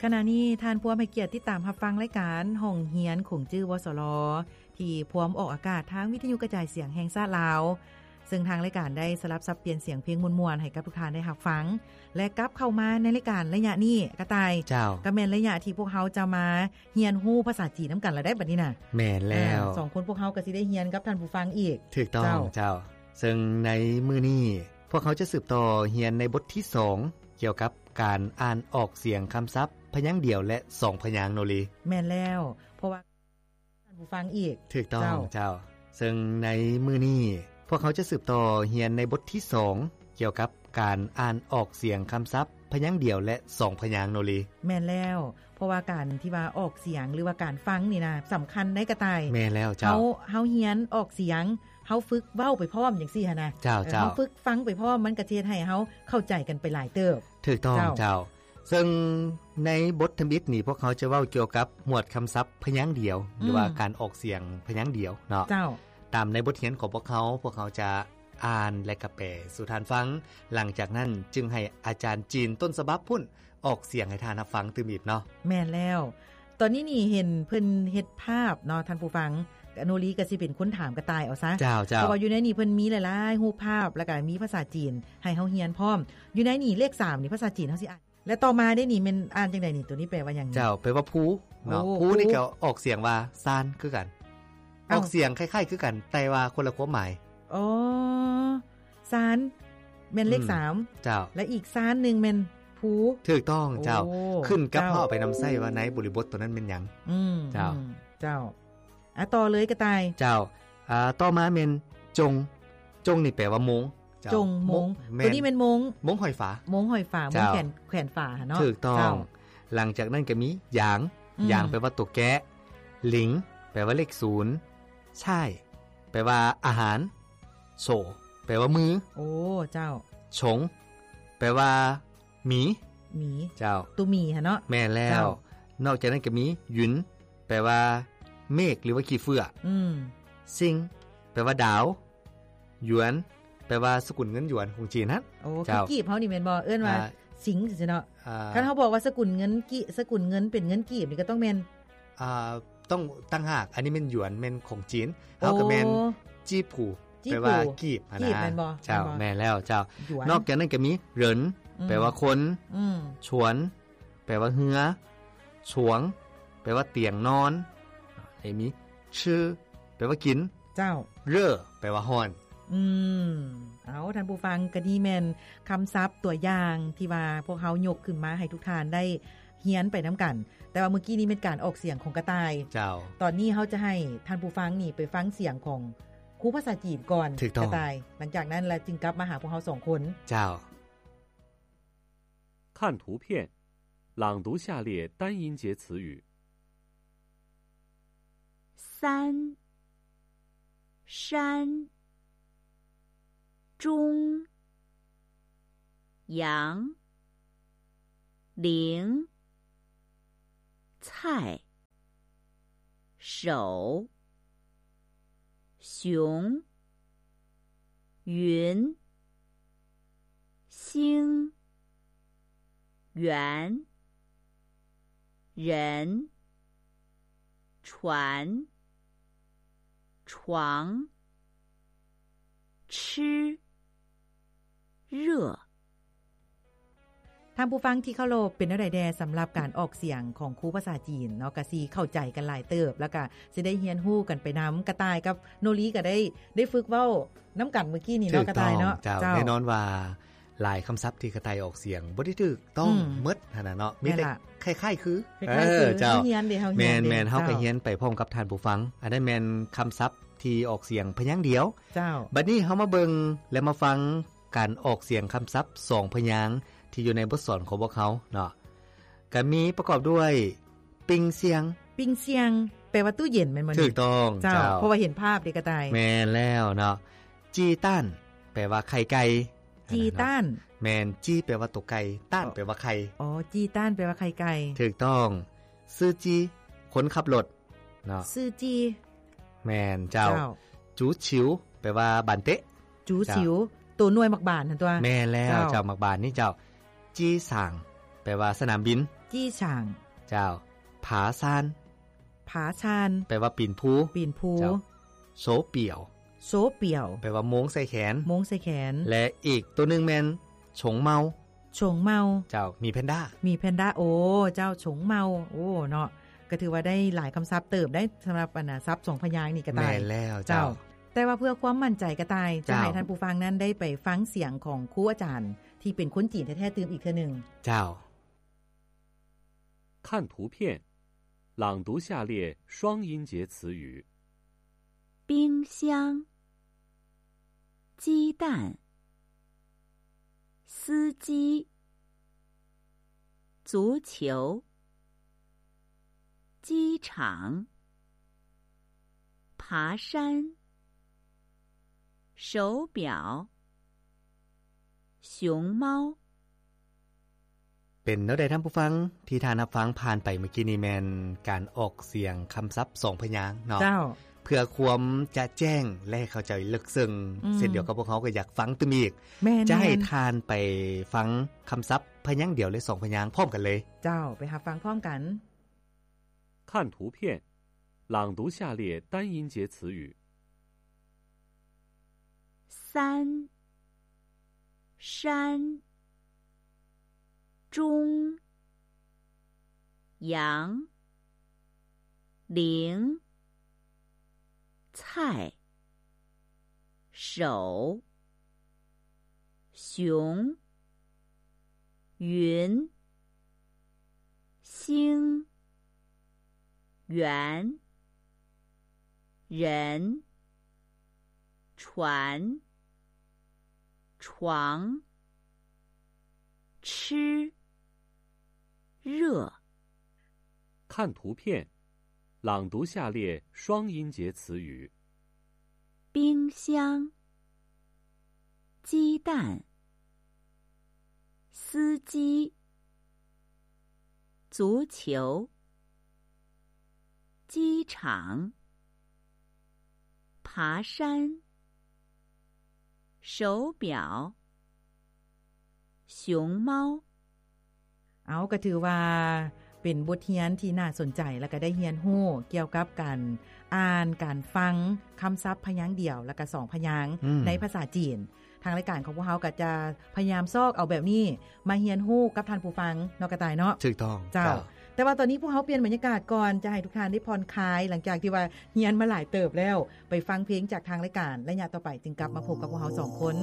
ຂະນະນີ້ທ່ານພວມໃຫ້ກຽດຕິດຕາມຮັບຟັງລາຍການຫ້ອງຮຽນຂົງຈື່ ວສລ ທີ່ພວມອອກອາກາດທາງວິທະຍຸກະຈາຍສຽງແຫ່ງຊາດລາວ, ເຊິ່ງທາງລາຍການໄດ້ສະຫຼັບສັບປ່ຽນສຽງເພງມ່ວນໆໃຫ້ກັບທຸກທ່ານໄດ້ຮັບຟັງ ແລະ ກັບເຂົ້າມາໃນລາຍການໄລຍະນີ້ ກະຕ່າຍ. ເຈົ້າ. ກໍແມ່ນໄລຍະທີ່ພວກເຮົາຈະມາຮຽນຮູ້ພາສາຈີນນຳກັນລະໄດ໋ບັດນີ້ນະ. ແມ່ນແລ້ວ. ອ່າ ສອງຄົນພວກເຮົາກໍຊິໄດ້ຮຽນກັບທ່ານຜູ້ຟັງອີກ. ຖືກຕ້ອງ. ເຈົ້າ. ເຈົ້າ. ເຊິ່ງໃນມື້ນີ້ພວກເຮົາຈະສືບຕໍ່ຮຽນໃນບົດທີສອງ ກ່ຽວກັບການອ່ານອອກສຽງຄຳສັບພະຍາງດຽວ ແລະ ສອງພະຍາງໂນລີ. ແມ່ນແລ້ວ ເພາະວ່າ ທ່ານຜູ້ຟັງອີກ. ຖືກຕ້ອງ. ເຈົ້າ. ເຈົ້າ. ເຊິ່ງໃນມື້ນີ້ພວກເຮົາຈະສືບຕໍ່ຮຽນໃນບົດທີສອງ ກ່ຽວກັບການອ່ານອອກສຽງຄຳສັບພະຍາງດຽວ ແລະ ສອງພະຍາງໂນລີ. ແມ່ນແລ້ວ ເພາະວ່າການທີ່ວ່າອອກສຽງ ຫຼືວ່າການຟັງນີ້ນະ ສຳຄັນໃດ໋ກະຕ່າຍ. ແມ່ນແລ້ວ. ເຈົ້າ. ເຮົາ ເຮົາຮຽນອອກສຽງ ເຮົາຝຶກເວົ້າໄປພ້ອມຈັ່ງຊີ້ຫັ້ນນະ. ເຈົ້າ. ເອີ ເຈົ້າ. ເຮົາຝຶກຟັງໄປພ້ອມ ມັນກໍຊິເຮັດໃຫ້ເຮົາເຂົ້າໃຈກັນໄປຫຼາຍເຕີບ. ຖືກຕ້ອງ. ເຈົ້າ. ເຈົ້າ. ເຊິ່ງໃນບົດທຳອິດນີ້ ພວກເຮົາຈະເວົ້າກ່ຽວກັບໝວດຄຳສັບພະຍາງດຽວ ອືມ ຫຼືວ່າການອອກສຽງພະຍາງດຽວເນາະ. ເຈົ້າ. ຕາມໃນບົດຮຽນຂອງພວກເຮົາ ພວກເຮົາຈະອ່ານ ແລະ ກະແປສູ່ທ່ານຟັງ, ຫຼັງຈາກນັ້ນຈຶ່ງໃຫ້ອາຈານຈີນຕົ້ນສະບັບພຸ້ນ ອອກສຽງໃຫ້ທ່ານຮັບຟັງຕື່ມອີກເນາະ. ແມ່ນແລ້ວ. ຕອນນີ້ນີ້ເຫັນເພິ່ນເຮັດພາບເນາະທ່ານຜູ້ຟັງ, ໂນລີກໍຊິເປັນຄົນຖາມກະຕ່າຍເອົາຊະ. ເຈົ້າ. ເຈົ້າ. ເພາະວ່າຢູ່ໃນນີ້ເພິ່ນມີຫຼາຍໆຮູບພາບ ແລ້ວກໍມີພາສາຈີນໃຫ້ເຮົາຮຽນພ້ອມ. ຢູ່ໃນນີ້ເລກສາມນີ້ພາສາຈີນເຮົາຊິອ່ານ ແລະ ຕໍ່ມາເດ້ນີ້ແມ່ນອ່ານຈັ່ງໃດນີ້? ໂຕນີ້ແປວ່າຫຍັງ? ເຈົ້າ. ແປວ່າພູເນາະ. ໂອ້ ພູນີ້ກໍອອກສຽງວ່າຊານຄືກັນ. ເອົ້າ ອອກສຽງຄ້າຍໆຄືກັນ ແຕ່ວ່າຄົນລະຄວາມໝາຍ. ອໍ ຊານ ແມ່ນເລກ ອືມ ສາມ. ເຈົ້າ. ແລະ ອີກຊານໜຶ່ງແມ່ນພູ. ຖືກຕ້ອງ. ເຈົ້າ. ໂອ້ ຂຶ້ນກັບ ເຈົ້າ ເຮົາເອົາໄປນຳໃຊ້ວ່າໃນບໍລິບົດໂຕນັ້ນແມ່ນຫຍັງ. ອືມ. ເຈົ້າ. ອືມ ເຈົ້າ. ອ່ະ ຕໍ່ເລີຍກະຕ່າຍ. ເຈົ້າ. ອ່າ ຕໍ່ມາແມ່ນຈົງ. ຈົງນີ້ແປວ່າໂມງ. ເຈົ້າ. ຈົງ ໂມງ. ໂມງ. ແມ່ນ. ໂຕນີ້ແມ່ນໂມງ. ໂມງຫ້ອຍຝາ. ໂມງຫ້ອຍຝາ. ໂມງ ເຈົ້າ. ແຂວນ ແຂວນຝາຫັ້ນເນາະ. ຖືກຕ້ອງ. ເຈົ້າ. ຫຼັງຈາກນັ້ນກໍມີຢາງ. ອືມ. ຢາງແປວ່າໂຕແກະ. ຫຼິງ ແປວ່າເລກສູນ. ຊ່າຍ ແປວ່າອາຫານ. ໂສ ແປວ່າມື. ໂອ້ ເຈົ້າ. ຊົງ ແປວ່າໝີ. ໝີ. ເຈົ້າ. ໂຕໝີຫັ້ນເນາະ. ແມ່ນແລ້ວ. ເຈົ້າ. ນອກຈາກນັ້ນກໍມີ ຢຸນ ແປວ່າເມກ ຫຼືວ່າຂີ້ເຝື້ອ. ອືມ. ຊິງ ແປວ່າດາວ. ຢວນ ແປວ່າສະກຸນເງິນຢວນຂອງຈີນຫັ້ນ. ໂອ້ ຄື ເຈົ້າ ກີບເຮົານີ້ແມ່ນບໍ່? ເອີ້ນວ່າ ອ່າ ຊິງ ຈັ່ງຊີ້ເນາະ. ອ່າ ຄັນເຮົາບອກວ່າສະກຸນເງິນກີ ສະກຸນເງິນເປັນເງິນກີບນີ້ກໍຕ້ອງແມ່ນ ອ່າ ຕ້ອງຕ່າງຫາກ. ອັນນີ້ແມ່ນຢວນ ແມ່ນຂອງຈີນ. ໂອ້ ເຮົາກໍແມ່ນ ຈີ້ຜູ ຈີ້ຜູ ແປວ່າກີບຫັ້ນນະ. ກີບແມ່ນບໍ່? ເຈົ້າ. ແມ່ນແລ້ວ. ເຈົ້າ. ຢວນ. ນອກຈາກນັ້ນກໍມີ ເຫຣິນ ອືມ ແປວ່າຄົນ. ອືມ. ຊວນ ແປວ່າເຮືອ. ຊວງ ແປວ່າຕຽງນອນ. ແລ້ວມີ ຊື່ ແປວ່າກິນ. ເຈົ້າ. ເຣີ ແປວ່າຮ້ອນ. ອືມ ເອົາ ທ່ານຜູ້ຟັງ, ກະນີ້ແມ່ນຄຳສັບຕົວຢ່າງທີ່ວ່າພວກເຮົາຍົກຂຶ້ນມາໃຫ້ທຸກທ່ານໄດ້ຮຽນໄປນຳກັນ. ແຕ່ວ່າມື້ກີ້ນີ້ແມ່ນການອອກສຽງຂອງກະຕ່າຍ. ເຈົ້າ. ຕອນນີ້ເຮົາຈະໃຫ້ທ່ານຜູ້ຟັງນີ້ໄປຟັງສຽງຂອງຄູພາສາຈີນກ່ອນ. ຖືກຕ້ອງ. ກະຕ່າຍ. ຫຼັງຈາກນັ້ນລະຈຶ່ງກັບມາຫາພວກເຮົາສອງຄົນ. ເຈົ້າ. 看图片，朗读下列单音节词语。三、山、中、阳、灵、蔡、 手、熊、云、星、圆、人、船、床、吃、热。 ທ່ານຜູ້ຟັງທີ່ເຄົາລົບ, ເປັນແນວໃດແດ່ສຳລັບການອອກສຽງຂອງຄູພາສາຈີນເນາະ? ກະຊິເຂົ້າໃຈກັນຫຼາຍເຕີບ ແລ້ວກະຊິໄດ້ຮຽນຮູ້ກັນໄປນຳ. ກະຕ່າຍກັບໂນລີກະໄດ້ ໄດ້ຝຶກເວົ້ານຳກັນມື້ກີ້ນີ້ເນາະ ກະຕ່າຍເນາະ. ເຈົ້າ. ເຈົ້າ. ແນ່ນອນວ່າຫຼາຍຄຳສັບທີ່ກະຕ່າຍອອກສຽງບໍ່ໄດ້ຖືກຕ້ອງ ອືມ ໝົດຫັ້ນນະເນາະ, ມີແຕ່ ແມ່ນລະ ຄ້າຍໆຄື. ຄ້າຍໆຄື. ເອີ ເຈົ້າ. ເຮົາຮຽນເດ້ ເຮົາຮຽນ ແມ່ນໆ ເຮົາກະ ເຈົ້າ ຮຽນໄປພ້ອມກັບທ່ານຜູ້ຟັງ. ອັນນັ້ນແມ່ນຄຳສັບທີ່ອອກສຽງພະຍາງດຽວ. ເຈົ້າ. ບັດນີ້ເຮົາມາເບິ່ງ ແລະ ມາຟັງ ການອອກສຽງຄຳສັບສອງພະຍາງທີ່ຢູ່ໃນບົດສອນຂອງພວກເຮົາເນາະ, ກະມີປະກອບດ້ວຍ ປິງຊຽງ. ປິງຊຽງ ແປວ່າຕູ້ເຢັນແມ່ນບໍ່ນີ້? ຖືກຕ້ອງ. ເຈົ້າ. ເຈົ້າ. ເພາະວ່າເຫັນພາບເດ້ກະຕ່າຍ. ແມ່ນແລ້ວເນາະ. ຈີຕ້ານ ແປວ່າໄຂ່ໄກ່. ຈີຕ້ານ. ແມ່ນ, ຈີແປວ່າໂຕໄກ່, ຕ້ານແປວ່າໄຂ່. ອໍ ຈີຕ້ານແປວ່າໄຂ່ໄກ່. ຖືກຕ້ອງ. ຊື່ຈີ ຄົນຂັບລົດເນາະ. ຊື່ຈີ. ແມ່ນເຈົ້າ. ເຈົ້າ. ຈູຊິວ ແປວ່າບານເຕະ. ຈູຊິວ. ເຈົ້າ. ໂຕໜ່ວຍໝາກບານຫັ້ນຕົວະ. ແມ່ນແລ້ວ. ເຈົ້າ. ເຈົ້າ ໝາກບານນີ້ເຈົ້າ. ຈີສາງ ແປວ່າສະໜາມບິນ. ຈີ່ຊ່າງ ເຈົ້າ. ຜາຊານ ຜາຊານ ແປວ່າປີນພູ ປີນພູ. ເຈົ້າ. ໂຊປ່ຽວ ໂຊປ່ຽວ ແປວ່າໂມງໃສ່ແຂນ ໂມງໃສ່ແຂນ. ແລະ ອີກໂຕໜຶ່ງແມ່ນ ຊົງເມົາ ຊົງເມົາ. ເຈົ້າ. ໝີແພນດ້າ ໝີແພນດ້າ. ໂອ້ ເຈົ້າ ຊົງເມົາ. ໂອ້ ເນາະ ກໍຖືວ່າໄດ້ຫຼາຍຄຳສັບເຕີບໄດ໋ ສຳລັບອັນນະ ສັບສອງພະຍາງນີ້ກະຕ່າຍ. ແມ່ນແລ້ວ ເຈົ້າ ເຈົ້າ. ແຕ່ວ່າເພື່ອຄວາມໝັ້ນໃຈກະຕ່າຍ ເຈົ້າ ຈະໃຫ້ທ່ານຜູ້ຟັງນັ້ນໄດ້ໄປຟັງສຽງຂອງຄູອາຈານທີ່ເປັນຄົນຈີນແທ້ໆຕື່ມອີກເທື່ອໜຶ່ງ. ເຈົ້າ. 看图片，朗读下列双音节词语。冰箱、鸡蛋、司机、足球、机场、爬山、手表、熊猫。 ເປັນແນວໃດທ່ານຜູ້ຟັງ ທີ່ທ່ານຮັບຟັງຜ່ານໄປເມື່ອກີ້ນີ້ແມ່ນການອອກສຽງຄຳສັບສອງພະຍາງເນາະ. ເຈົ້າ. ເພື່ອຄວາມຈະແຈ້ງ ແລະ ເຂົ້າໃຈເລິກເຊິ່ງ ອືມ ເຊັ່ນດຽວກັບພວກເຮົາກໍຢາກຟັງຕື່ມອີກ. ແມ່ນໆ. ຈະໃຫ້ທ່ານໄປຟັງຄຳສັບພະຍາງດຽວ ແລະ ສອງພະຍາງພ້ອມກັນເລີຍ. ເຈົ້າ. ໄປຮັບຟັງພ້ອມກັນ. 看图片，朗读下列单音节词语。 三、山、中、羊、零、菜、手、熊、云、星、圆、人、船、床、吃、热。 看图片，朗读下列双音节词语。冰箱、鸡蛋、司机、足球、机场、爬山、手表、熊猫。 ເອົາ ກໍຖືວ່າເປັນບົດຮຽນທີ່ໜ້າສົນໃຈ ແລ້ວກໍໄດ້ຮຽນຮູ້ກ່ຽວກັບການອ່ານ, ການຟັງຄຳສັບພະຍາງດຽວ ແລ້ວກໍສອງພະຍາງ ອືມ ໃນພາສາຈີນ. ທາງລາຍການຂອງພວກເຮົາກໍຈະພະຍາຍາມຊອກເອົາແບບນີ້ມາຮຽນຮູ້ກັບທ່ານຜູ້ຟັງເນາະ ກະຕ່າຍເນາະ. ຖືກຕ້ອງ ເຈົ້າ ເຈົ້າ. ແຕ່ວ່າຕອນນີ້ພວກເຮົາປ່ຽນບັນຍາກາດກ່ອນ ຈະໃຫ້ທຸກທ່ານໄດ້ຜ່ອນຄາຍ ຫຼັງຈາກທີ່ວ່າຮຽນມາຫຼາຍເຕີບແລ້ວ ໄປຟັງເພງຈາກທາງລາຍການ ໄລຍະຕໍ່ໄປຈຶ່ງກັບມາພົບກັບພວກເຮົາສອງຄົນ.